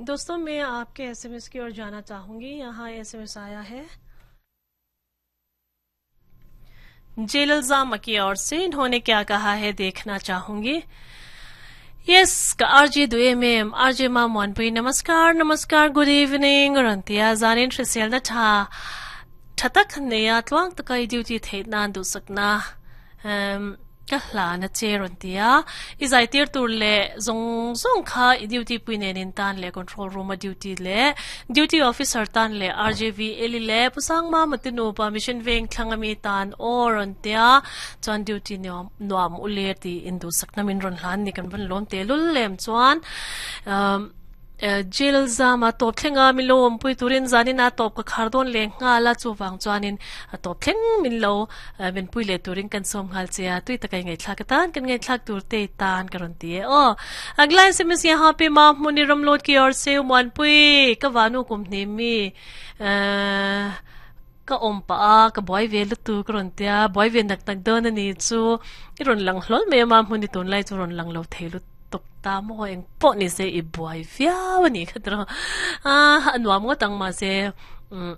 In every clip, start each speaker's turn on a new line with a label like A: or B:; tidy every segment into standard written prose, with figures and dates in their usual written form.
A: दोस्तों, मैं आपके एसएमएस की ओर जाना चाहूंगी। यहाँ एसएमएस आया है जेलल जामा की ओर से। इन्होंने क्या कहा है, देखना चाहूंगी। यस, का आरजे दुए में आरजे मा मोनपुई, नमस्कार नमस्कार, गुड इवनिंग। रंतिया जानिन श्रीसेल न था थतक नया त्वांग तकाई ड्यूटी थे नान दु सकना ka hla na che ron tia i zai tir tur le zong zong kha i duty pui nen in tan le control room a duty le duty officer tan le RJV eli le pusang ma matinu pa mission veng thlangami tan o ron tia. Chuan duty nuam nuam ule ti indu sakna min ron hlan ni kan van lom te lul lem. Chuan jail zama top thlenga min lo awm pui turin zanin a top ka khar dawn leh nghal a, chuvang chuanin a top thleng min lo min pui leh turin kan sawm nghal che a, tui taka i ngaihthlak atan kan ngaihthlak tur te tan ka rawn ti e aw. Agla SMS yaha pe ma hmuni ramlawt ki or seu muanpui ka vanu kum hnih mi ka awm pah a, ka buai ve lutu ka rawn tia, buai ve nak nak dawn a ni chu i rawn lang hlawl mai a, ma hmuni tunlai chu rawn lang lo thei lutuk. Tuk ta maw eng pawh ni se i buai viau a nih kha tiraw a a nuam ngawt ang mahse umm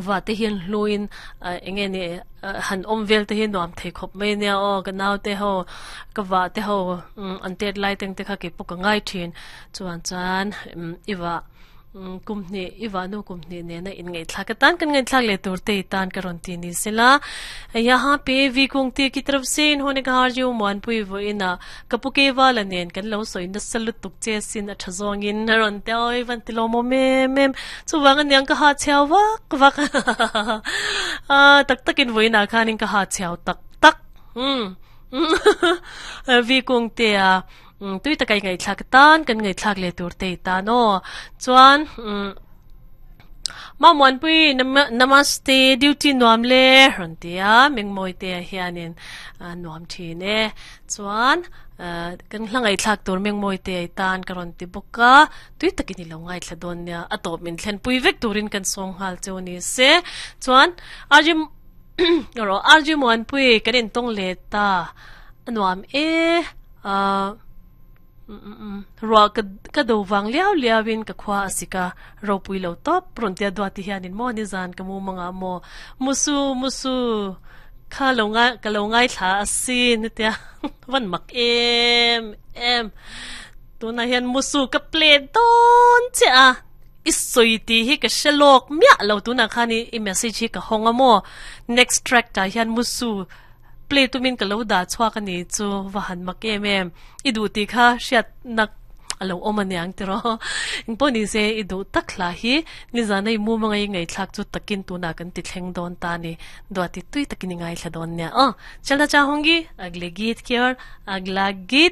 A: va te hian hluin eng nge ni han awm vel te hi nuam thei khawp mai ania aw. Ka nau te ho, ka vah te ho an tet lai teng te kha keipawh ka ngai thin. Chuan chuan i vah Kum hnih i vahnu kum hnih nena inngaihthlak atan kan ngaihthlak leh tur te i tan ka rawn ti ni sela. Yaha pe vi kung ti ki taraf se inhawne ka har jiu muanpui vawiin a ka pu ke vala nen kan lo sawi nasa lutuk che sin a tha zawngin a rawn ti a, oi van ti lawmawm em em chuvang aniang ka ha chhiau vak vak a tak takin vawiin ah khanin ka ha chhiau tak tak umm vi kung te a. Tui taka i ngaihthlak atan kan ngaihthlak leh tur te i tan aw. Chuan Mamuanpui namaste duty nuam le rawn ti a, Mengmawi te ah hianin nuam thin e. Chuan kan hla ngaihthlak tur Mengmawi te i tan ka rawn ti bawk a, tui takin i lo ngaithla dawn nia, a tawp min thlenpui vek turin kan sawng nghal cheu ni se. Chuan Rawh RG Muanpui kan intawng leh ta a nuam e ah ruah ka ka do vang liau liau in ka khua a sik a ropui lo tawp rawn tia duati hianin maw nizan ka mumang ah maw musu musu kha lo ngai ka lo ngaithla a sin tia van mak em em tunah hian musu ka play dawn chiah a. I sawi tih hi ka hre lawk miah lo, tunah khan i message hi ka hawng a maw? Next track tah hian Musu play tumin ka lo dah chhuak a ni chu va han mak em em. I duh tih kha hriatna a lo awm aniang tiraw. Engpawh ni se i duh tak hla hi nizana i mumanga i ngaihthlak chu takin tunah kan ti thleng dawn ta a ni. Duati tui takin i ngaithla dawn nia aw. Chalna chahungi, agle geet ki aur agla geet.